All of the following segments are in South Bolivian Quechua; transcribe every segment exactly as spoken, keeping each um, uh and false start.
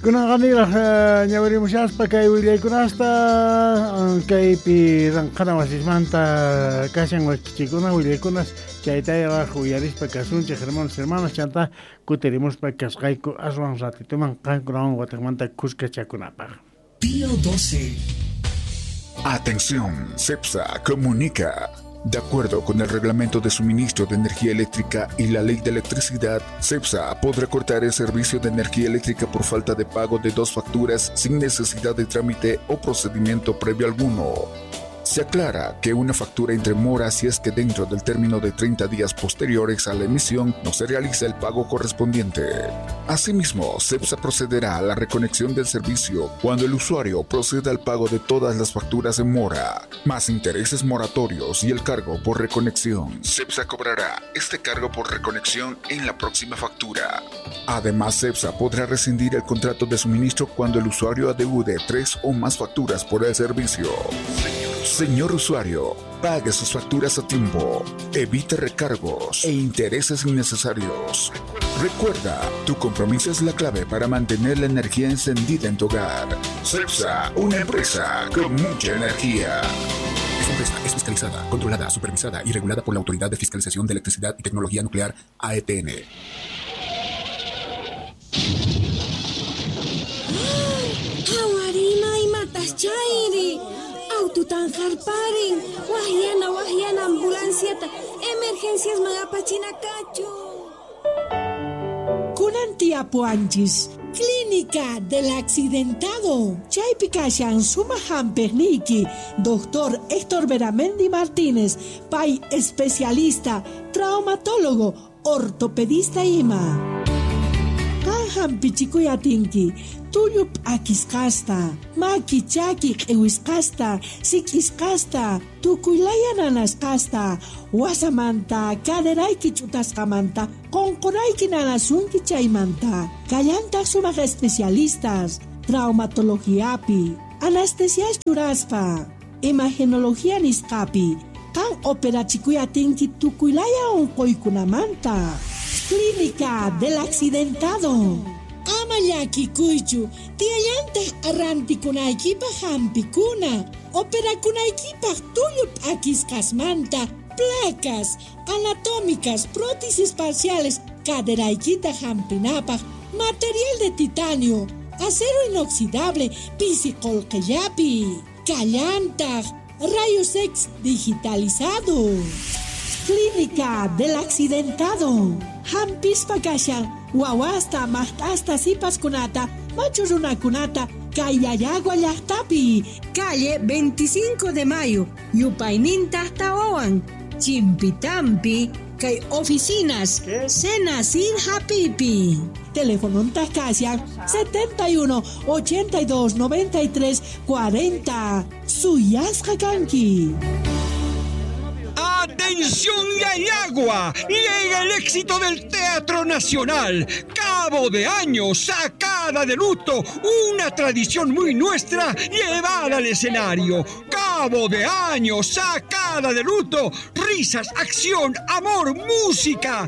Kunanqa niraj ñawirimushaspa kay willaykunasta kaypi ranqhana wasismanta kashan wakichikuna willaykunas chaytayraj uyarispa kasunchej hermanos hermanas chanta kutirimuspa kasqayku aswan ratituman qankunawan watiqmanta kuskachakunapaq. Pío doce. Atención, CEPSA comunica. De acuerdo con el Reglamento de Suministro de Energía Eléctrica y la Ley de Electricidad, CEPSA podrá cortar el servicio de energía eléctrica por falta de pago de dos facturas sin necesidad de trámite o procedimiento previo alguno. Se aclara que una factura entre mora si es que dentro del término de treinta días posteriores a la emisión no se realiza el pago correspondiente. Asimismo, CEPSA procederá a la reconexión del servicio cuando el usuario proceda al pago de todas las facturas en mora, más intereses moratorios y el cargo por reconexión. CEPSA cobrará este cargo por reconexión en la próxima factura. Además, CEPSA podrá rescindir el contrato de suministro cuando el usuario adeude tres o más facturas por el servicio. Señor usuario, pague sus facturas a tiempo, evite recargos e intereses innecesarios. Recuerda, tu compromiso es la clave para mantener la energía encendida en tu hogar. CEPSA, una empresa con mucha energía. Esta empresa es fiscalizada, controlada, supervisada y regulada por la Autoridad de Fiscalización de Electricidad y Tecnología Nuclear, A E T N. ¡Hawarima y matas chairi! Aututan jarparin, wahyana wahyana ambulanciata, emergencias magapachinakachu. Kunan tiapuanchis, Clínica del Accidentado. Chaypi kashan sumaq hampiqniyki, doctor Héctor Beramendi Martínez, pay especialista, traumatólogo, ortopedista ima. Qan hampichikuy atinki, tullu p'akisqasta, maki chaki q'iwisqasta, sik'isqasta, tukuylaya nanasqasta, wasamanta, caderayki ch'utasqamanta, qunqurayki nanasunki chaymanta. Kallantaq sumaq especialistas, traumatologiapi, anestesia churaspa, imagenología nisqapi, qan operachikuy atinki tukuylaya unquykunamanta. Clínica del Accidentado. Ama llakikuychu, tiyallantaq arrantikunaykipaq hampikuna, operakunaykipaq tullu p'akisqasmanta, placas anatómicas, prótesis parciales, caderaykita hampinapaq, material de titanio, acero inoxidable, pisi qolqellapi, kallantaq, rayos X digitalizado. Clínica del Accidentado. Hampispa kashan, wawasta, maqt'asta, sipaskunata, machu runakunata, Kayayagua llaqtapi. Calle veinticinco de Mayo, Yupayninta Tawawan, Chimpitampi, kay oficinas, Senacir Hapipi. Teléfono Tascasian setenta y uno, ochenta y dos, noventa y tres, cuarenta. Suyasqa kanki. ¡Atención Yayagua! Llega el éxito del Teatro Nacional. Cabo de año, sacada de luto, una tradición muy nuestra llevada al escenario. Cabo de año, sacada de luto, risas, acción, amor, música.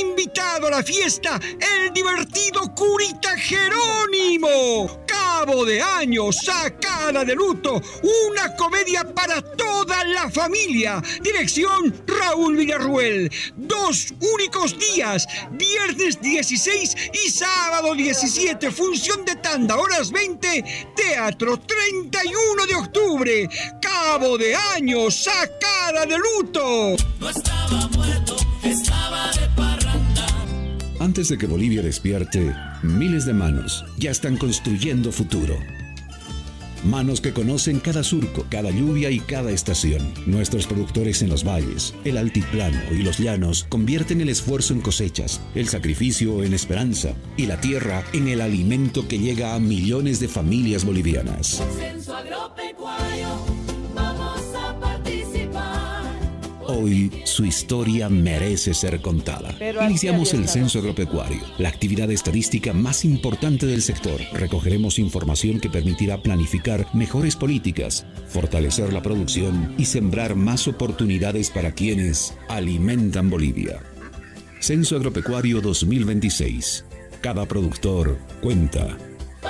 Invitado a la fiesta, el divertido curita Jerónimo. Cabo de año, sacada de luto, una comedia para toda la familia. Dirección Raúl Villarruel. Dos únicos días, viernes dieciséis y sábado diecisiete, función de tanda, horas veinte, teatro treinta y uno de octubre. Cabo de año, sacada de luto. No estaba muerto, estaba de parranda. Antes de que Bolivia despierte, miles de manos ya están construyendo futuro. Manos que conocen cada surco, cada lluvia y cada estación. Nuestros productores en los valles, el altiplano y los llanos convierten el esfuerzo en cosechas, el sacrificio en esperanza y la tierra en el alimento que llega a millones de familias bolivianas. Censo agropecuario, vamos a participar. Hoy su historia merece ser contada. Pero Iniciamos así el había censo estado. agropecuario, la actividad estadística más importante del sector. Recogeremos información que permitirá planificar mejores políticas, fortalecer la producción y sembrar más oportunidades para quienes alimentan Bolivia. Censo Agropecuario dos mil veintiséis. Cada productor cuenta.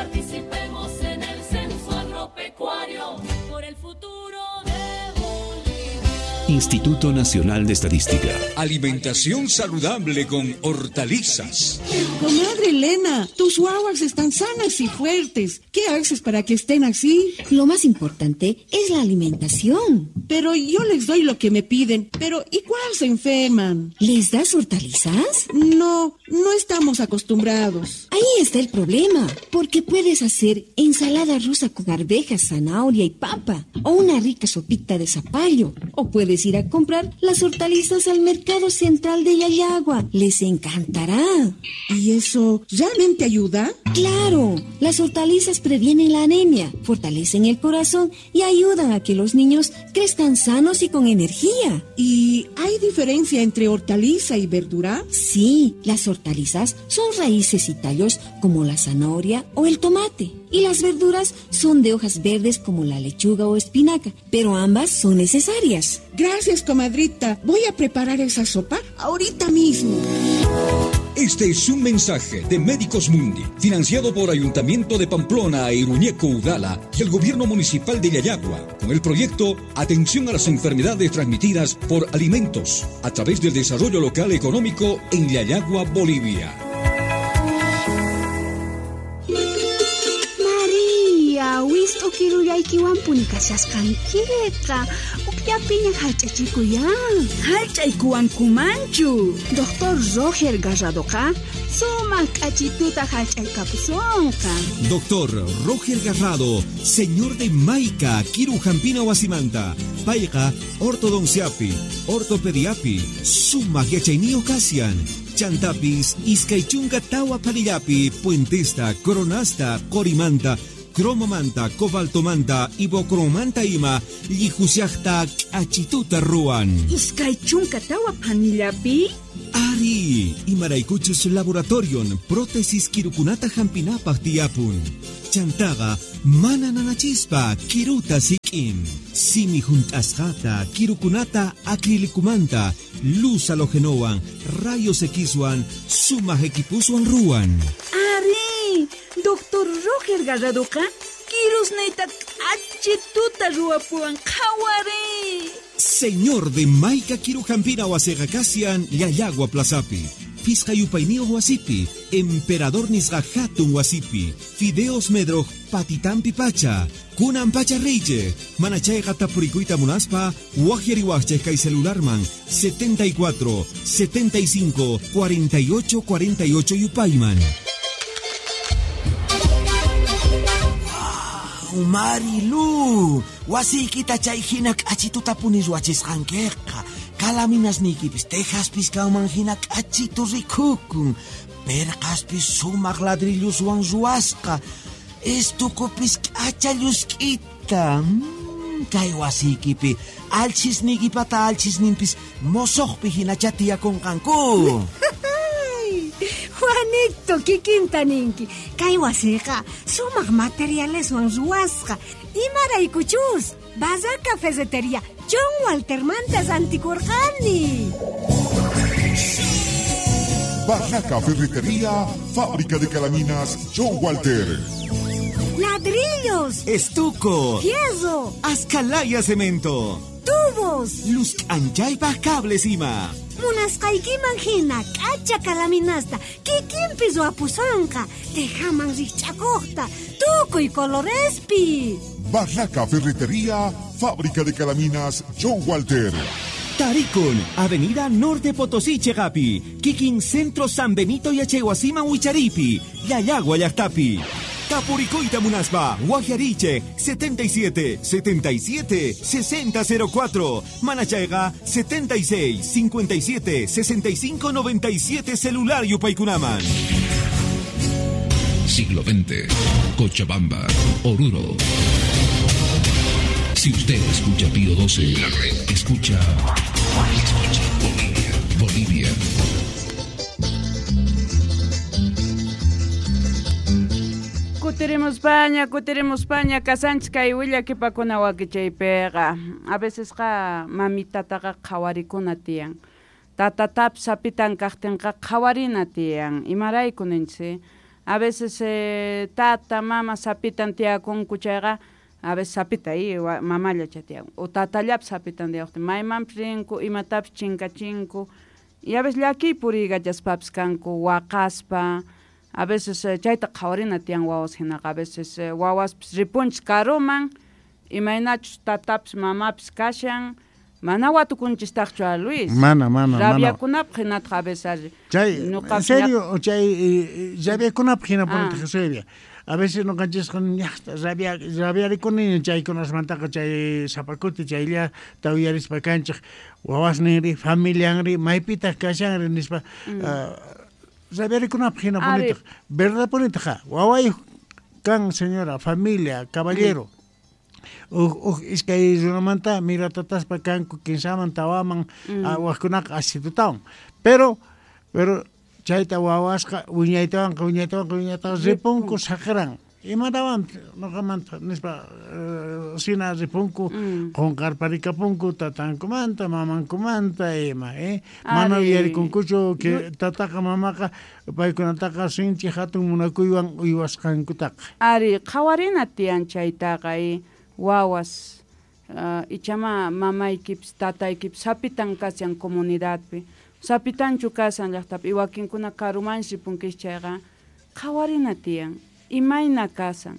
Participemos en el censo agropecuario por el futuro de Bolivia. Instituto Nacional de Estadística. Alimentación saludable con hortalizas. Comadre Elena, tus guaguas están sanas y fuertes. ¿Qué haces para que estén así? Lo más importante es la alimentación. Pero yo les doy lo que me piden, pero igual se enferman. ¿Les das hortalizas? No, no estamos acostumbrados. Ahí está el problema, porque puedes hacer ensalada rusa con arvejas, zanahoria y papa, o una rica sopita de zapallo, o puedes ir a comprar las hortalizas al mercado central de Llallagua. Les encantará. ¿Y eso realmente ayuda? ¡Claro! Las hortalizas previenen la anemia, fortalecen el corazón y ayudan a que los niños crezcan sanos y con energía. ¿Y hay diferencia entre hortaliza y verdura? Sí, las hortalizas son raíces y tallos como la zanahoria o el tomate. Y las verduras son de hojas verdes como la lechuga o espinaca, pero ambas son necesarias. Gracias, comadrita. Voy a preparar esa sopa ahorita mismo. Este es un mensaje de Médicos Mundi, financiado por Ayuntamiento de Pamplona e Iruñeco Udala y el Gobierno Municipal de Llallagua, con el proyecto Atención a las Enfermedades Transmitidas por Alimentos, a través del Desarrollo Local Económico en Llallagua, Bolivia. María, wist'ukirullaykiwanpuni kashasqankiqa. Ukllapiña hallch'achikuyan. Hallch'aykuwankumanchu. Doctor Roger Garradoqa sumaq k'achituta hallch'aykapusunqa. Doctor Roger Garrado, señor de Maica, Kiru Jampina Wasimanta, Payqa, ortodonciapi, ortopediapi, sumaq yachayniyuq kasian. Chantapis, iskaychunka tawa panillapi, puentesta, coronasta, corimanta, cromomanta, cobaltomanta, ibocromanta ima, llijusiajta, k'achituta ruwan. Iskaychunka tawa panillapi? Ari, imaraykuchus laboratorion, prótesis kirukunata hampinapaq tiyapun. Chantaqa, mana nanachispa, kiruta sik'in. Simi junt'asqata, kirukunata acrilicumanta, luz halogenowan, rayos Xwan, sumaq equipuswan ruwan. Ari, Doctor Roger Garradoqa, kirusniyta k'achituta ruwapuwan qhawari. Señor de Maica Kirujampina wasiqa kasian Llallagua Plazapi, Pisqa yupayniyuq wasipi, Emperador nisqa hatun wasipi, Fideos Medroj patitampi pacha, Kunan pacha reyche, manachayqa tapurikuyta munaspa, waqyariwaqchej kay celularman setenta y cuatro, setenta y cinco, cuarenta y ocho, cuarenta y ocho yupayman. Marilu, wasiykita chay hina k'achituta puni ruwachisqankiqa. Kalaminasniykipis tejaspis kanman hina k'achitu rikukun. Perqaspis sumaq ladrilluswan ruwasqa. Estukupis k'acha llusk'ita. Mm, kay wasiykipi alchisniykipata alchisninpis mosoqpi hinacha tiyakunqanku. Juanito, kikinta ninki. Kay wasiqa sumaq materialeswan ruwasqa. Imaraykuchus, Barraca Ferretería John Waltermanta rantikurqani. Barraca Ferretería, fábrica de calaminas John Walter. Ladrillos, estuco, fierro, ascalaya cemento, tubos, luz anchaypaj cables ima. Munasqaykiman hina k'acha kalaminasta kikinpi ruwapusonqa, tejaman rikch'akuqta, tukuy colorespi. Barraca Ferretería, fábrica de calaminas John Walter. Tarikun, Avenida Norte Potosí, Chegapi, Kikin Centro San Benito y Achehuasima Huicharipi, Llallagua Llaqtapi. Tapuricoita Munaspa, Guajiariche, setenta y siete, setenta y siete, sesenta cero cuatro, Manachaiga, setenta y seis, cincuenta y siete, sesenta y cinco, noventa y siete, celular Yupaykunaman. Siglo veinte, Cochabamba, Oruro. Si usted escucha Pío doce, la red escucha, escucha Bolivia, Bolivia. Kutiremos paña, kutiremos paña, kasanchis kay willakipakuna wakichaypiqa. A veces qa mamitataqa qhawarikuna tiyan. Tatatapis sapitan kaqtinqa qhawarina tiyan. Imarayku ninchis, A veces eh, tata, mama sapitan tiyakunku chayqa, a veces sapita y mamalla chay tiyakun. O tatallapis sapitan tiyaqtin, maymanpis rinku, imatapis chinkachinku. Y a veces llakiy puriykachaspapis kanku, waqaspa. A veces eh, chayta qhawarina tiyan wawas hinaqa, a veces eh, wawaspis ripunchis karuman, imaynachus tatapis mamapis kashan, mana watukunchistaqchu a Luis. Mana, mana, mana. Rabiakunapaq hinataq a veces. Chay, en serio, chay rabiakunapaq hinapunitaq Eusebia. A veces noqanchisqa ñaqta rabia rabiarikuni chaykunasmantaqa chay sapakuti chaylla tawyarispa kanchik wawasninri familianri maypitaq kashanri nispa rabiarikunapaq hinapunitaq. Verdad punitaq wawayuq kan señora, familia, caballero. Uj uj iskay runamanta miratataspa kanku kinsaman tawaman wajkunaqa asitutawan. Pero pero chayta wawasqa wiñaytawanqa wiñaytawanqa wiñaytawan ripunku saqiran. Imatawan noqamanta nispa sina ripunku qunqarparikapunku tatankumanta mamankumanta ima eh mana yuyarikunkuchu que tataqa mamaqa paykunataqa sinchi hatun munakuywan uywasqankutaqa. Ari qhawarina tiyan chaytaqa wawas uh, ichama mamaykipis tataykipis sapitan kashan comunidadpi sapitanchu kashan llaqtapi wakinkuna karumansi ripunkis chayqa qhawarina tiyan imayna kasan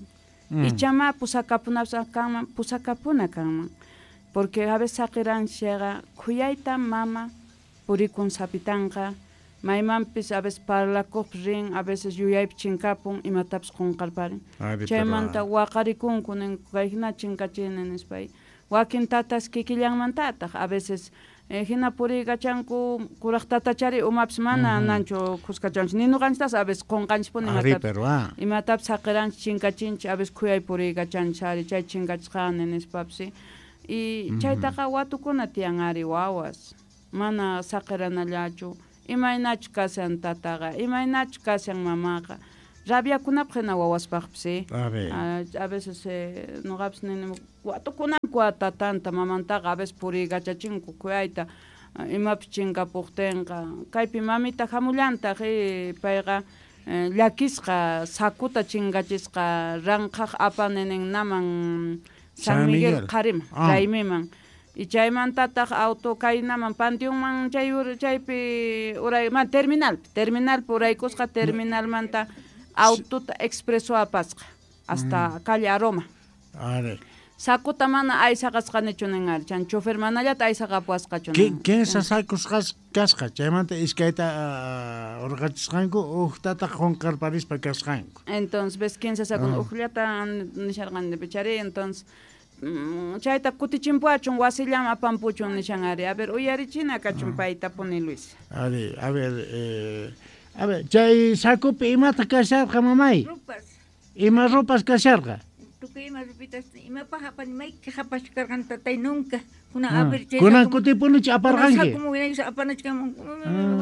mm. ichama pusakapunapis kanman pusakapuna kanman porque a veces saqiranchis chayqa khuyayta mama purikun sapitanqa maymanpis a veces parlakuqpis rin a veces yuyaypi chinkapun imatapis qunqarparin chaymanta waqarikunku ninku kayhina chinkachini nispa wakin tatas kikillanmantataq a veces eh, hina puriykachanku kuraq tatachari umapis mana mm -hmm. nanchu khuskachanchis ni ñuqanchis a veces qunqanchispuni imatapis imatapis saqiranchis chinkachinchis a veces khuyay puriykachanchis ari chay chinkachisqani nispapis y mm -hmm. chaytaqa watukuna tiyan ari wawas mana saqiranallachu imaynachu kashan tataqa imaynachu kashan mamaqa rabiakunapaq hina wawaspaqpis a veces eh, noqapis nini watukunanku tatanta mamantaqa a veces puriykachachinku khuyayta imapis chinkapuqtinqa kaypi mamita hamullantaq payqa eh, llakisqa sakuta chinkachisqa ranqhaq apaninin naman San Miguel qhariman ah. raymiman y chaymantataq auto kaynaman panteonman chay chaypi uray man terminal terminalpi uraykusqa terminalmanta autota expreso apasqa hasta mm. calle Aroma. Are. Sakuta mana aysaqasqanichu nin ari chan chofer manallata aysaqapuasqachu nin. Kinsa sakus kasqa chaymanta iskayta urqachisqanku uqtataq qunqarparispa kasqanku. Entonces ves kinsa sakun uqllata nisharqani pichari entonces chayta kutichinpuachun wasillam apampuchun nishan ari. A ver uyarichina kachun paytapuni Luis. Ari, a ver eh, a ver chay sakupi imata kasharqa mamay? Rupas. Ima rupas kasharqa? Tukuy ima rupitas imapaq apani mayki hapachkarqan tatay nunca kunan a ver chay kunan kutipunichu aparqanki? Sakuman winaykus apanachkaman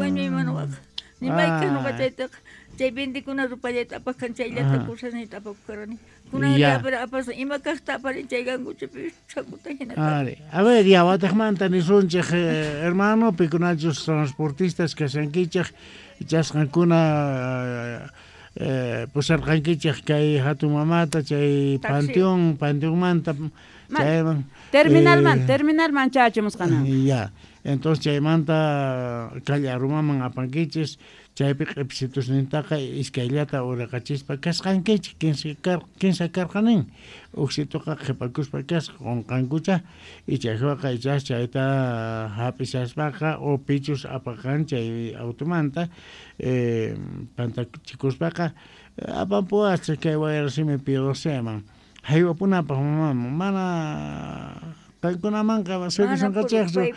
wañuyman waqa ni mayka nuqa chaytaqa chay vendikuna rupallayta apaqkan chayllata cosasniyta apakukarqani kunan apas ima kaqta aparin chay ganguchapi sakuta hina. Ari, a ver ya wataqmanta nisunchik hermano pikunachus transportistas kashankichik chasqankuna eh, pusarqankichik kay hatun mamata chay panteón panteonmanta chayman terminalman eh, terminalman chachimusqanan ya entonces chaymanta calle Arumaman apankichis chaypi q'ipsitusnintaqa iskayllata uraqachispa kasqankichik kinsa karqanin uksituqa qhipakuspa kasqa qunqankucha ichaywaqa ichas chayta hap'ishaspaqa o pichus apaqan chay automanta eh, pantachikuspaqa apampuwasqa kay wayrasimi Pidoseman haywapunapaq mamaman mana paykunamanqa sirvisunqachikchu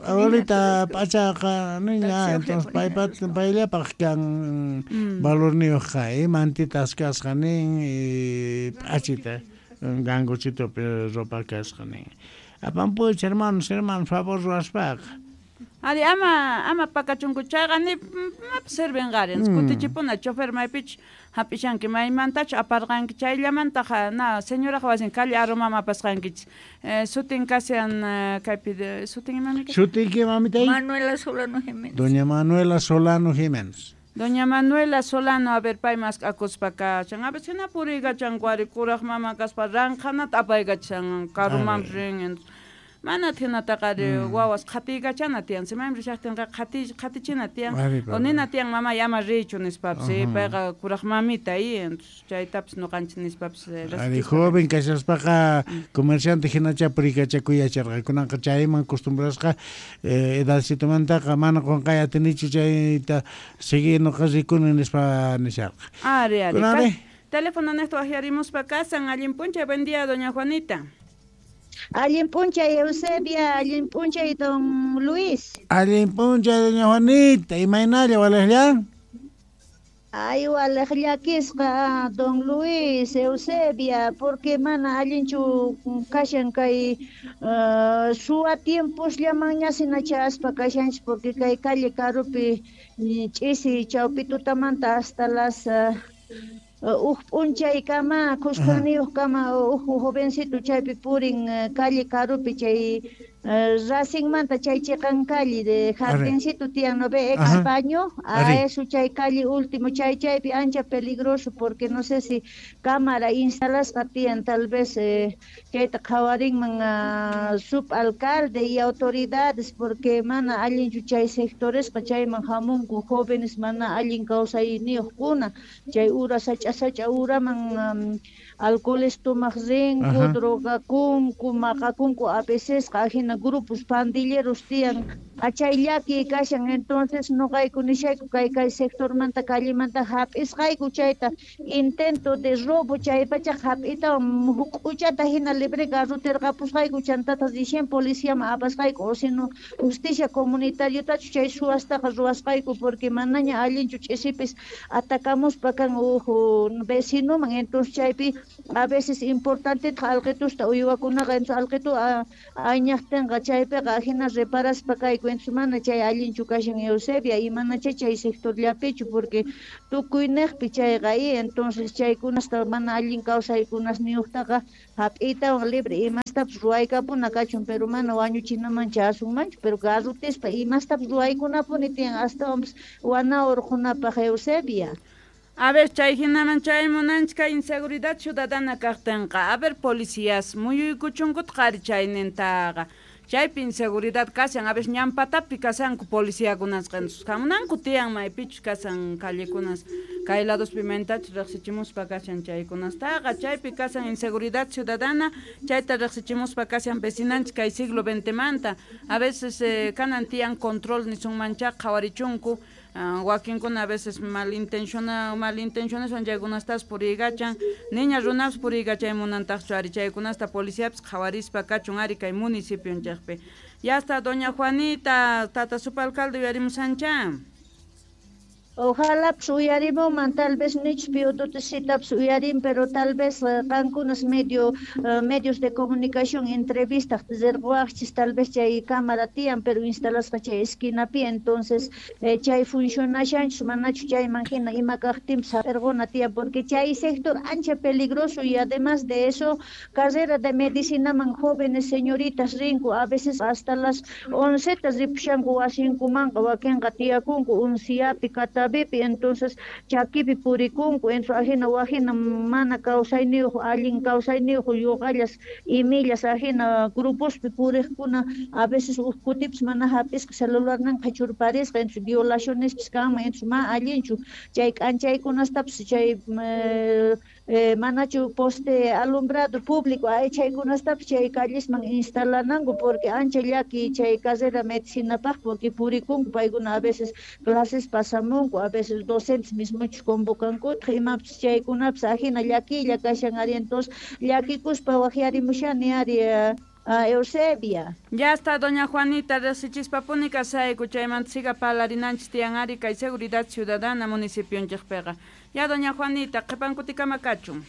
abuelita p'achaqa niña entonces paypa payllapaq kan valorniyuqqa mantitas kasqa nin p'achita ganguchitupi ropa kasqa nin apampuwach hermanos hermanos favor ruwaspaqa. Ari ama ama pakachunku chayqa ni mapis sirvinqari kutichipuna chofer maypichu hap'ishanki maymantachu aparqanki chayllamantaqa na señoraqa wasin calle Aromama apasqankichis sutin kashan kaypi sutin imami sutiyki mamitay? Manuela Solano Jiménez. Doña Manuela Solano Jiménez. Doña Manuela Solano, a ver, pay mask'akuspa kashan. A veces hina puriykachanku ari kuraq mama kaspa ranqhanata apaykachan karumanpis rin. Mana hinataqa ari wawas qhatiykachana tiyan. Simaymi rishaqtinqa qhati qhatichina tiyan. O nina tiyan mamay ama riychu nispapis, payqa kuraq mamita y chaytapis ñuqanchis nispapis. Ari joven kashaspaqa comerciante hinacha puriykachakuy yacharqa. Kunanqa chayman costumbrasqa edadcitomantaqa mana qunqay atinichu chayta sigui ñuqa rikuni nispa nisharqa. Ari, ari. Teléfono neqta waqyarimuspa kasan. Allin p'unchay, buen día, doña Juanita. Allin p'unchay Eusebia, allin p'unchay don Luis. Allin p'unchay doña Juanita, imaynalla walejlla? Ay, walej llakisqa don Luis, Eusebia, porque mana allinchu kashan kay uh, suwa tiemposllamanña sinachaspa kashanchis, porque kay calle karupi ch'isi chawpi tutamanta hasta las uh, uj p'unchay kama khuskaniyuq kama uj jovencito chaypi purin calle karupi chay Racingmanta chay chiqan calle de jardincito tiyan no ve ex baño a eso chay calle último chay chaypi ancha peligroso porque no sé si cámara instalasqa tiyan tal vez eh, chayta qhawarinman uh, subalcalde y autoridades porque mana allinchu chay sectoresqa chayman hamunku jóvenes mana allin kawsayniyuqkuna chay ura sach'a sach'a uraman um, alcoholes tomaq rinku, drogakunku, maqakunku a vecesqa ajina grupos pandilleros tiyan achay llaki kashan. Entonces noqayku nishayku kay kay sectormanta callemanta hap'isqayku chayta intento de robo chaypacha hap'ita huk'uchata hina libre garrutirqapusqayku chantata recién policiaman apasqayku o sino justicia comunitariutachu chay suwastaqa ruwasqayku porque manaña allinchu ch'isipis atacamuspa kan uhu vecinoman. Entonces chaypi a veces importante alqitusta uywakunaqa entonces alqitu añaqtinqa chaypiqa ajina reparaspa kayku. Entonces mana chay allinchu kashan Eusebia y mana chay chay sectorllapichu porque tukuyniqpi chayqa y entonces chaykunasta mana allin kawsaykunasniyuqtaqa hap'iytawan libre imastapis ruwaykapuna kachun pero mana wañuchinaman chasunmanchu pero garrutispa imastapis ruwaykunapuni tiyan astawanpis wana urqunapaq Eusebia. A ver, chay hinaman chay munanchik kay inseguridad ciudadana kaqtinqa. A ver, policías muyuykuchunkuta qari chaynintaqa. Chaypi inseguridad kashan, a veces ñampatapi kashanku policiakunasqa hamunanku tiyan maypichus kashan callekunas kay lados pimentachus riqsichimuspa kashan chaykunastaqa. Chaypi kashan inseguridad ciudadana, chayta riqsichimuspa kashan vecinanchik kay siglo veintemanta. A veces eh, kanan tiyan control nisunmancha qhawarichunku. Uh, wakinkuna a veces malintenciona malintenciones chaykunastas puriykachan niña runapas puriykachay munantaqchu ari chaykunasta policiapis qhawarispa kachun ari kay municipionchikpi. Ya está doña Juanita, tata subalcalde uyarimusancha. Ojalá uyarimuman, tal vez nichpi ututisitapas uyarin, pero tal vez qankunas medio uh, medios de comunicación entrevistas rirquwaqchis, tal vez chay cámara tiyan, pero instalasqa chay esquinapi, entonces eh, chay funcionashanchus manachu chayman hina ima kaqtinpis hap'irquna tiyan, porque chay sector ancha peligroso y además de eso carrera de medicinaman jóvenes señoritas rinku, a veces hasta las oncetas ripushanku wasinkumanqa, wakinqa tiyakunku unciapi kata entonces chakipi purikunku, entonces ajina wajina mana kawsayniyuq allin kawsayniyuq yuqallas imillas ajina grupospi puriqkuna a veces uj kutipis mana hap'isqa celularninqa qhichurparisqa, entonces violacionespis kanman, entonces ma allinchu chay k'anchaykunastapis chay eh, eh, manachu poste alumbrado público ay chaykunastapis chay callesman instalananku porque ancha llaki chay carrera medicinapaq porque purikunku paykuna a veces clases pasamunku a veces docentes mismochus convocankutaq imapis chaykunapis ajina llakilla kashan ari, entonces llakikuspa waqyarimushani ari uh, Eusebia. Ya está doña Juanita, riqsichispapuni kasayku chaymanta siga parlarinanchis tiyan ari kay seguridad ciudadana municipionchikpiqa. Ya doña Juanita, qhipankutikama kachun.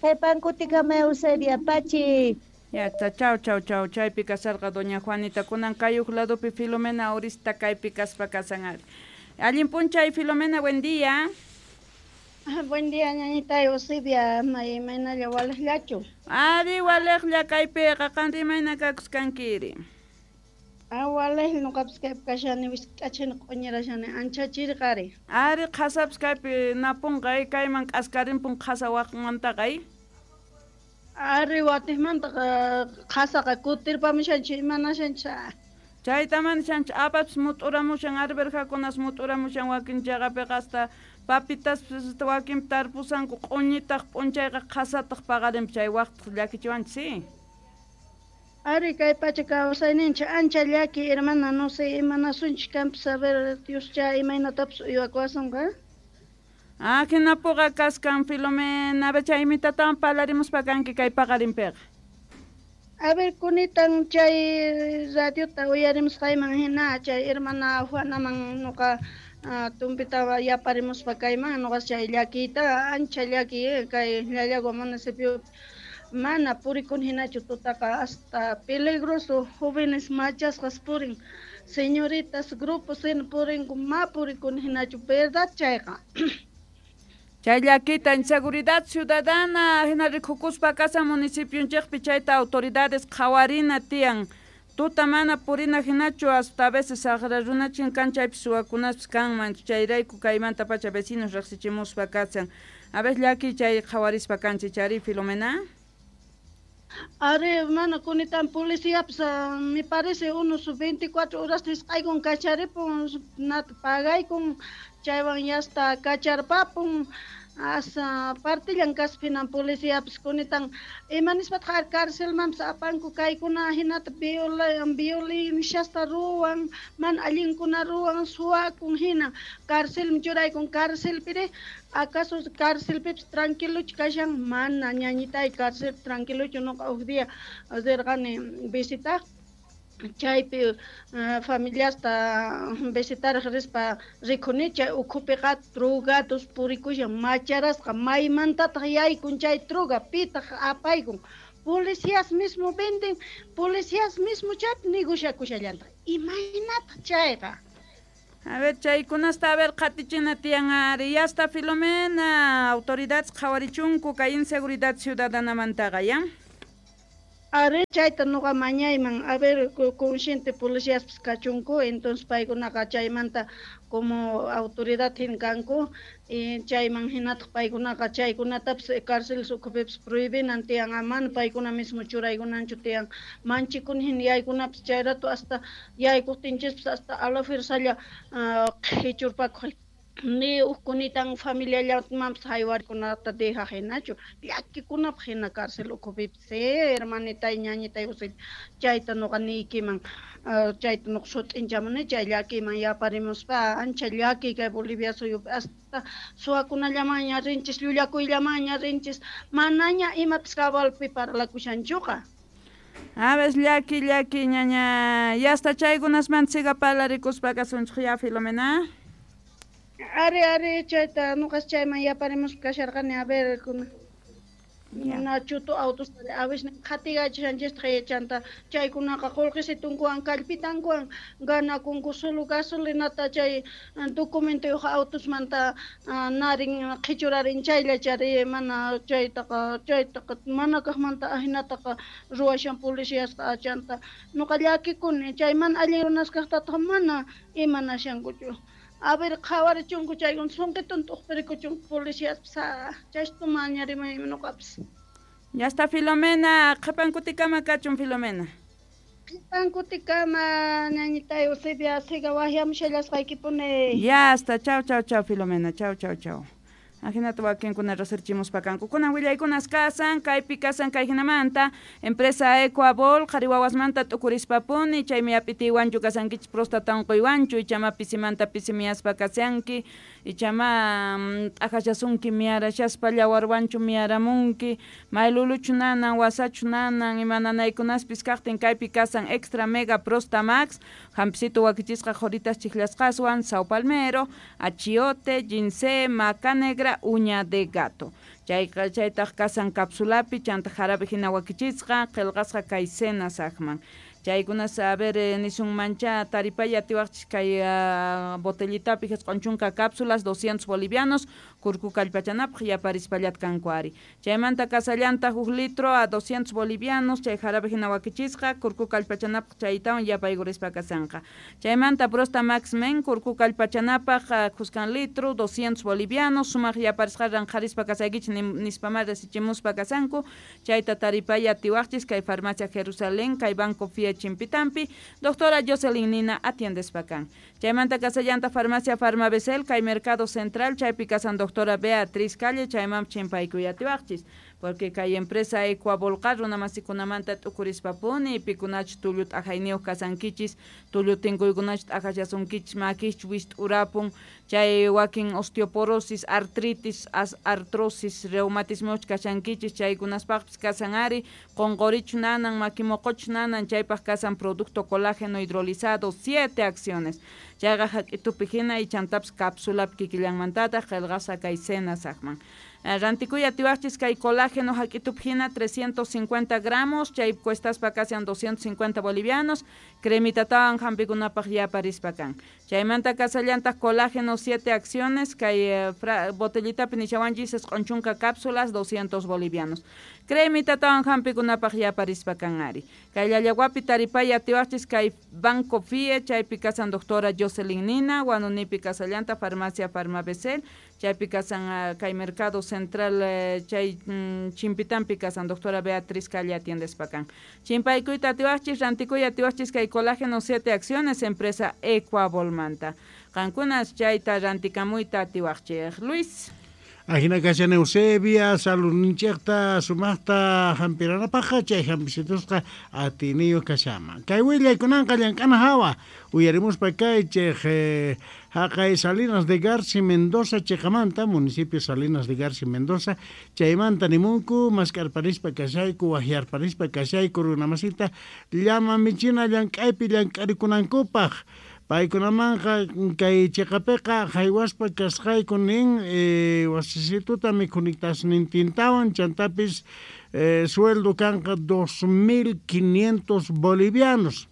Qhipankutikama Eusebia, pachi. Ya está, chau, chau, chau. Chaypi kasarqa doña Juanita, kunan kay uj ladopi Filomena Urista kaypi kaspa kasan ari. Allin p'unchay Filomena, buen día. Buen día, ñañita Eusebia, imaynalla walejllachu. Ari walejlla kaypiqa, qanri imayna kakusqankiri. Awalej noqapis kaypi kashani wisk'achani q'uñirashani ancha chirqari. Ari qhasapis kaypi napunqa kayman k'askarimpun qhasa waqmantaqa. Ari watiqmantaqa qhasaqa kutirpamushanchik imanashanchik. Chayta manishanchik apapis mut'uramushan arberjakunas mut'uramushan wakin chaqapiqa hasta papitas wakin tarpusanku q'uñitaq p'unchayqa qhasataq paqarinpi chay waqtaq llakichiwanchik. Ari kay pacha kawsayninchik ancha llaki hermana no sé imanasunchik kanpis a ver Dioscha imaynatapis uywakuwasunqa. Ah, hinapuqa kaskan Filomena, a ver chay imitatawan parlarimuspa kanki kay paqarinpiqa. A ver kunitan chay radiota uyarimusqayman hina chay hermana Juanaman nuqa tumpita yaparimuspa kayman nuqa chay llakiyta ancha llaki kay Llallagua municipio mana purikun hinachu tutaqa hasta peligroso jóvenes machasqas purin señoritas grupos hina purinku ma purikun hinachu verdad chayqa. Chay llakita inseguridad ciudadana hina rikukuspa kasa municipionchikpi chayta autoridades qhawarina tiyan tuta mana purina hinachu hasta a veces saqra runachin kan chaypi suwakunaspis kanman chayrayku kaymanta pacha vecinos riqsichimuspa kasan a veces llaki chay qhawarispa kanchik chari Filomena. Ari mana kunitan policiapis me parece unos veinticuatro horas nisqaykun kacharipun nata pagaykun chaywan yasta kacharpapun asa partillan kaspinan policiapis kunitan imanispataq carcelmanpis apanku kaykuna hinata viola violenciasta ruwan mana allinkuna ruwan suwakun hina carcelman churaykun carcelpiri acaso carcelpipis tranquilochu kashan mana ñañitay carcel tranquilochu nuqa huk día rirqani visitaq chaypi uh, familiasta visitaraq rispa rikuni chay ukhupiqa drogados purikushan macharasqa maymantataq yaykun chay droga pitaq apaykun policías mismo venden policías mismo chaypi negociakushallantaq imaynataq chayqa. A ver chaykunasta a ver qhatichina tiyan ari yasta Filomena autoridades qhawarichunku kay inseguridad ciudadanamantaqa ya. Ari chayta nuqa mañayman a ver consciente policiaspis kachunku entonces paykunaqa chaymanta como autoridad hina kanku y chayman hinataq paykunaqa chaykunatapis cárceles ukhupipis prohibinan tiyan mana paykuna mismo churaykunanchu tiyan manchikuni hina yaykunapis chay rato hasta yaykuqtinchispis hasta a la fuerzalla qhichurpakuq ni ukkunitan familiallamanpis haywarikunata dejaq hinachu llakikunapaq hina cárcel ukhupipis hermanitay ñañitay chayta nuqa niykiman chayta nuqa sut'inchamuni chay llakiyman yaparimuspa ancha llaki kay Bolivia suyupi hasta suwakunallamanña rinchis llullakuyllamanña rinchis manaña imapis cabalpi parlakushanchuqa. A ver llaki llaki ñaña yasta chaykunasmanta siga parlarikuspa kasunchik ya Filomena. Ari ari chayta nuqas chayman yaparimuspa kasharqani a ver kuna na chutu autos a veces qhatigachishanchistaq chanta chaykunaqa qullqisitunkuwan kallpitankuwan ganakunku solo gasolinata chay documentoyuq autosmanta narin qhichurarin chaylla chari mana chaytaqa chaytaqa mana kaqmanta ahinataqa ruwashan policiasqa chanta nuqa llakikuni chay mana allin runas kaqtataq mana imanashankuchu. A ver qhawarichunku chaykuna sunqitun t'uqpirikuchunku policiaspis chaystu mañarimaymi nuqapis. Ya está Filomena, qhipan kutikama kachun Filomena. Qhipan kutikama ñañitay Eusebia siga waqyamushallasqaykipuni. Ya está, chau chau chau Filomena, chau chau chau. Ajinata wakinkuna riqsirichimuspa kanku. Kunan willaykunas kasan, kaypi kasan kay hinamanta, empresa Ecoabol, qhari wawasmanta t'ukurispapuni, chaymi ap'itiywanchu kasankichik próstata unquywanchu, ichama pisimanta pisimiyaspa kasanki, ichama t'aqashasunki miyarashaspa llawarwanchu miyaramunki, mayluluchu nanan, wasachu nanan, ima nanaykunaspis kaqtin kaypi kasan Extra Mega Prosta Max, hampisitu wakichisqa qhuritas chiklasqaswan, sao palmero, achiote, ginseng, maca negra, uña de gato. Chayqa chaytaq kasan capsulapi chanta jarabe hina wakichisqa qillqasqa kay cena saqman. Chaykunas a ver eh, nisunmancha taripaya atiwaqchis kay uh, botellitapi jisq'un chunka cápsulas doscientos bolivianos kurku kallpachanapaq yaparispallat kanku ari. Chaymanta kasallanta huk litro a doscientos bolivianos chay jarabe hina wakichisqa kurku kallpachanapaq chaytawan yapaykurispa kasanqa. Chaymanta Prosta Max Men kurku kallpachanapaq khuskan litro doscientos bolivianos sumaq yaparisqa ranqharispa kasaykichis nispamá resichimuspa kasanku chayta taripaya atiwaqchis kay farmacia Jerusalén kay Banco F I E Chimpitampi doctora Jocelyn Nina atiendespa kan. Chaymanta kasallanta farmacia Farmabesel kay Mercado Central chaypi kasan doctora Beatriz Calle chayman chimpaykuy atiwaqchis porque kay empresa Ecuavolqa runamasikunamanta t'ukurispapuni pikunach tullu t'ajayniyuq kasankichis tullu tinkuykunach t'ajachasunkichis makich wist'urapun chay wakin osteoporosis artritis as artrosis reumatismoch kashankichis chaykunaspaqpis kasan ari qonqorichu nanan makimoqochu nanan chaypaq kasan producto colágeno hidrolizado siete acciones chayqa hak'itupi hina y chantapis cápsulapi kikillanmantataq qillqasqa kay cena saqman. Rantikuy atiwaqchis kay colágeno hak'itupi hina trescientos cincuenta gramos chay cuestaspa kasian doscientos cincuenta bolivianos cremitatawan hampikunapaq yaparispa kan. Chaymanta kasallantaq colágeno siete acciones kay eh, botellitapi nishawanchis isq'un chunka cápsulas doscientos bolivianos cremitatawan hampikunapaq yaparispa kan ari. Kay Llallawapi taripay atiwaqchis kay Banco F I E chaypi kasan doctora Jocelyn Nina Huanunipi kasallanta farmacia Farmabesel chaypi kasan uh, kay Mercado Central eh, chay mm, Chimpitampi kasan doctora Beatriz Calle atiendespa kan. Chimpaykuyta atiwaqchis rantikuy atiwaqchis kay colágeno siete acciones empresa Ecuavolmanta. Qankunas chayta rantikamuyta atiwaqchij. Luis. Ajina kashan Eusebia, saludninchikta sumaqta hampiranapaqqa chay hampisitosqa atiniyuq kashaman. Kay willaykunanqa llank'ana hawa uyarimuspa kaychik eh, haqay Salinas de Garci Mendoza chiqamanta municipio Salinas de Garci Mendoza chaymanta nimunku mask'arparispa kashayku wahyarparispa kashayku runamasita llama michina llank'aypi llank'arikunankupaq. Paykunamanqa kay chiqapiqa haywaspa kasqayku nin eh, wasisituta mikhunitasnintintawan chantapis eh, sueldo kanqa dos mil quinientos bolivianos.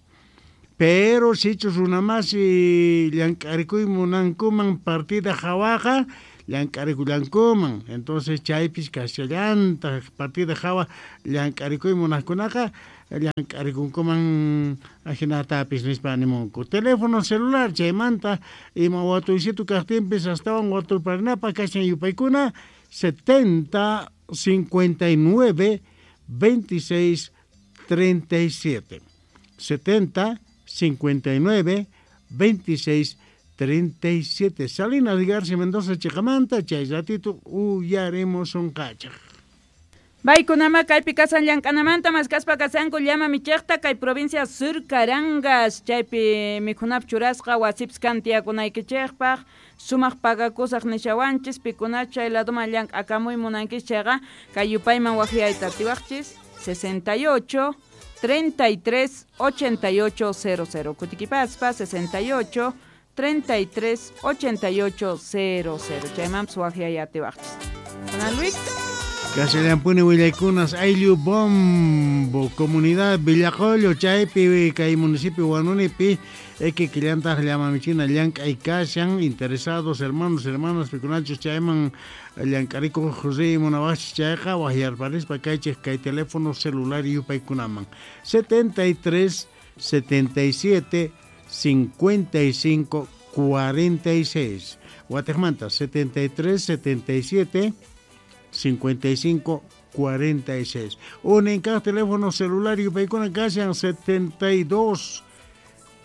Pero sichus runamasi llank'arikuy munankuman partida hawaqa llank'arikullankuman. Entonces chaypis kashallantaq partida hawa llank'arikuy munaqkunaqa llank'arikunkuman ajinatapis nispa nimunku. Teléfono celular chaymanta ima watuysitu kaqtinpis astawan watuyparinapaq kashan yupaykuna setenta cincuenta y nueve veintiséis treinta y siete setenta cincuenta y nueve veintiséis treinta y siete. Salinas de Garci Mendoza chiqamanta chay ratito uyaremos unqachaq. Baykunama kaypi kasan llank'anamanta maskaspa kasanku llama michiqta kay provincia Sur Carangas chaypi mikhunap churasqa wasipis kan tiyakunaykichikpaq sumaq pagakusaq nishawanchis pikuna chay laduman llank'akamuy munankichis chayqa kay yupayman waqyayta atiwaqchis sesenta y ocho treinta y tres ochenta y ocho cero cero kutikipaspa sesenta y ocho treinta y tres ochenta y ocho cero cero chaymanpis waqyay atiwaqchis. Ana Luis. Kasallampuni willaykunas ayllu Bombo comunidad Villacollo chaypi kay municipio Huanunipi ekikillantaq llamamichina llank'ay kashan interesados hermanos hermanas pikunachus chayman llank'arikuq José munawaqchis chayqa wahyarparispa kaychik kay teléfono celular yupaykunaman setenta y tres setenta y siete cincuenta y cinco cuarenta y seis Guatemala setenta y tres setenta y siete cincuenta y cinco cuarenta y seis. Un cada teléfono celular y paikuna kashan setenta y dos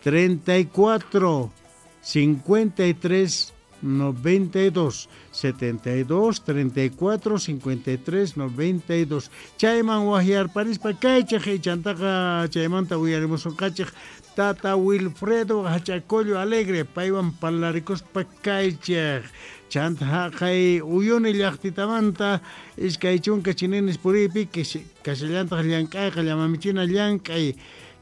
treinta y cuatro cincuenta y tres noventa y dos setenta y dos treinta y cuatro cincuenta y tres noventa y dos. Chayman wahyarparispa kaychik chantaqa chaymanta uyarimus kachik Tata Wilfredo Hachacollo Alegre paywan parlarikuspa kaychik chanta haqay uyuni llaqtitamanta iskay chunka chininis puriypi kasallantaq llank'ayqa llamamichina llank'ay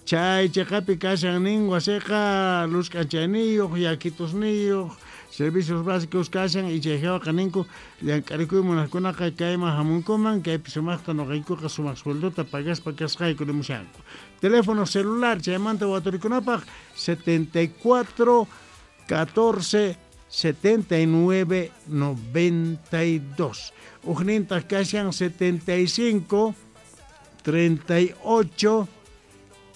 Chay cheqapi kashan nin wasiqa luz k'anchayniyuq, yakitusniyuq, servicios básicos kashan y chay hawaqa ninku llank'arikuy munaqkunaqa kayman hamunkuman, kaypi sumaqta nuqaykuqa sumaq sueldota pagaspa kasqayku nimushanku. Teléfono celular chaymanta waturikunapaq setenta y cuatro catorce setenta y nueve noventa y dos. Ujnintaq kashan setenta y cinco treinta y ocho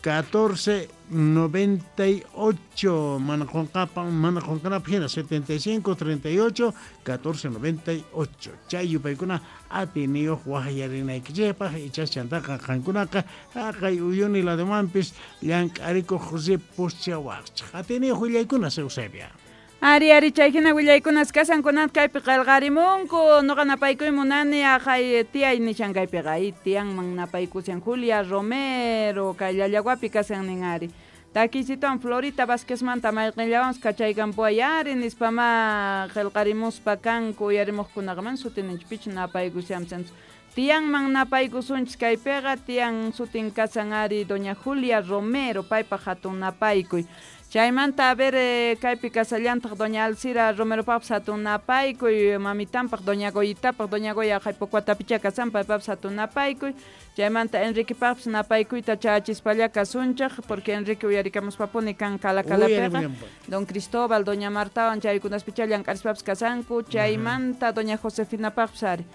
catorce noventa y ocho. Mana qunqapan, mana qunqanapaq hina setenta y cinco treinta y ocho catorce noventa y ocho. Chay yupaykuna atiniyuq waqyarinaykichikpaq ichas chantaqa qankunaqa haqay uyuni ladomanpis llank'arikuq ripuschawaqchik. Atiniyuq willaykuna Eusebia. Ari, ari, chay hina willaykunas kasan kunat kaypi qillqarimunku, nuqa napaykuy munani aqay tiyay nishan kaypiqa, ay tiyanman napaykusian Julia Romero, kay Llallaguapi kasan nin ari. Takisituan Florita Vázquezmanta mayqinllawanpas kachaykampuay ari nispama qillqarimuspa kanku uyarimuqkunaqa man sutininchik pichu napaykusiamsan. Tiyanman napaykusunchik kaypiqa, tiyan sutin kasan ari doña Julia Romero, paypaq hatun napaykuy. Chaymanta a ver eh, kaypi kasallantaq doña Alcira Romeropaqpas hatun napaykuy, mamitanpaq doña Goyitapaq, doña Goya haypokuatapicha kasan paypaqpas hatun napaykuy. Chaymanta Enriquepaqpas napaykuyta chachispalla kasunchik, porque Enrique uyarikamuspapuni kan kalakalapiqa. Don Cristóbal, doña Martawan chaykunaspicha llank'arispapas kasanku. Chaymanta doña Josefinapaqpas ari.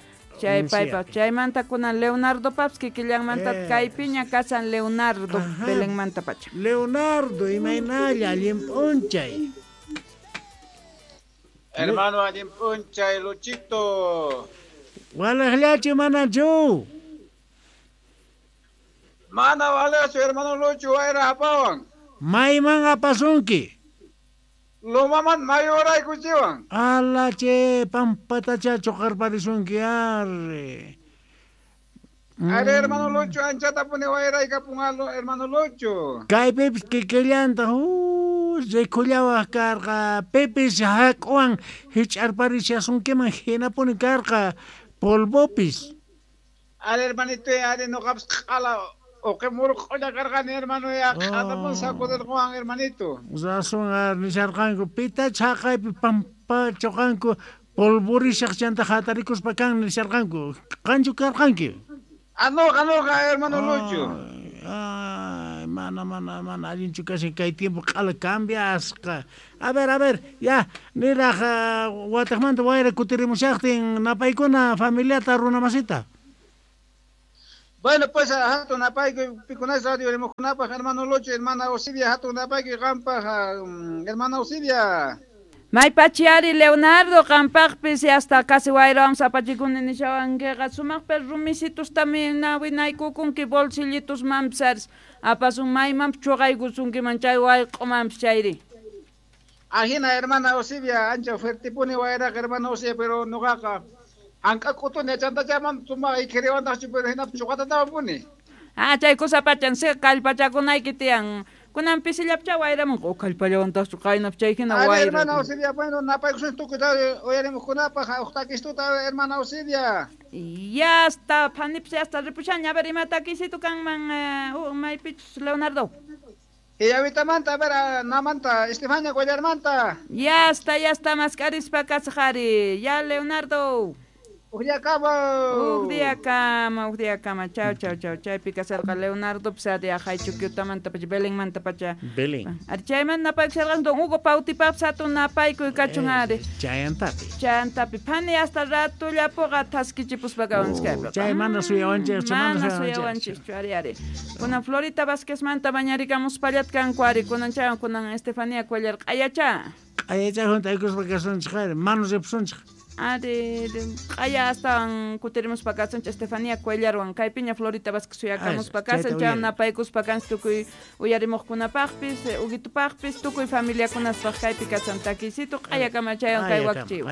Chay paypaq chaymanta kunan Leonardo paps kikillanmanta eh. kaypiña kasan Leonardo Belenmanta pacha. Leonardo imaynalla allin p'unchay. Hermano allin p'unchay Luchito. Walaqllachu manachu? Mana walachu hermano Lucho wayra apawan. Mayman apasunki? Lomaman mayoraykuchiwan. Ala che pampatacha choqarparisunki arre. Mm. Are hermano Lucho anchatapuni wayraykapun hermano Lucho. Kaypipis kikillanta uh, rikullawaq karqa pipis hak'uwan hich'arparishasunkiman hinapuni karqa polvopis. Are hermanito are nuqapis q'ala uqimurq'ulla karqani hermano ya q'atapun sacudirquwan hermanito. Razón ar nisharqanku pitach haqaypi pampa choqanku polvorishaq chanta hatarikuspa kan nisharqanku qanchu karqanki? Ah nuqa nuqa hermano Lucho. Ay, mana mana mana allinchu kashan kay tiempo q'ala cambiasqa. A ver, a ver, ya niraq wataqmanta wayra kutirimushaqtin napaykuna familiata runamasita. Bueno, pues hatun napaykuy pikunas radio rimuqkunapaq hermano Lucho, hermana Eusebia, hatun napaykuy qampaq hermana Eusebia. Maypachi ari Leonardo qampaqpis hasta casi wayrawan sapachikuni nishawankiqa sumaqpi rumisitus también winaykukunki bolsillitus manpis aris apasun maymanpis chuqaykusunkiman chay wayq'umanpis chayri. Ajina hermana Eusebia, ancha fuertepuni wayraqa hermana Eusebia, pero nuqaqa ank'a k'utuni chantachaman sumaq ikhiriwantaqchu pero hinapis chuqatatawapuni. Ah, chay kusapachan si kallpachakunayki tiyan. Kunan pisillapcha wayramunqa o kallpallawantaqchu qaynap chay hina wayra. Hermana Eusebia, bueno, napaykusun tukuy uyarimuqkunapaq uq takistuta hermana Eusebia. Ya hasta phanipis hasta ripushaña a ver ima takisitu kanman eh, uh, maypichus Leonardo. Hiyawitamanta, a ver, namanta, Estefania Cuellarmanta. Ya está, ya está, maskarispa kasaqari. Ya Leonardo. Uj día kama. Uj día kama, uj día kama. Chau, chau, chau. Chaypi kasarqa Leonardo pisari ajaychukyutamanta pacha, Belenmanta pacha. Belén. Ari chayman napaykusharqan don Hugo Pautipapis hatun napaykuy kachun ari. Chayantapi. Chayantapi. Phani hasta ratullapuqa thaskichipuspa kawanchik kaypiqa. Chay mana suyawanchikchu, mana suyawanchikchu ari ari. Kunan Florita Vázquezmanta bañarikamuspallat kanku ari. Kunan chayan kunan Estefanía Cuellar q'ayacha. Q'ayacha juntaykuspa kasunchik ari, manu ripusunchik. Ari, q'aya astawan kutirimuspa kasunchik Estefanía Cuellarwan kaypiña Florita Vázquez suyakamuspa kasan chay napaykuspa kanchik tukuy uyarimuqkunapaqpis Huguitupaqpis tukuy familiakunaspaq kaypi kasan takisitu q'ayakama chayan kay wakchiw.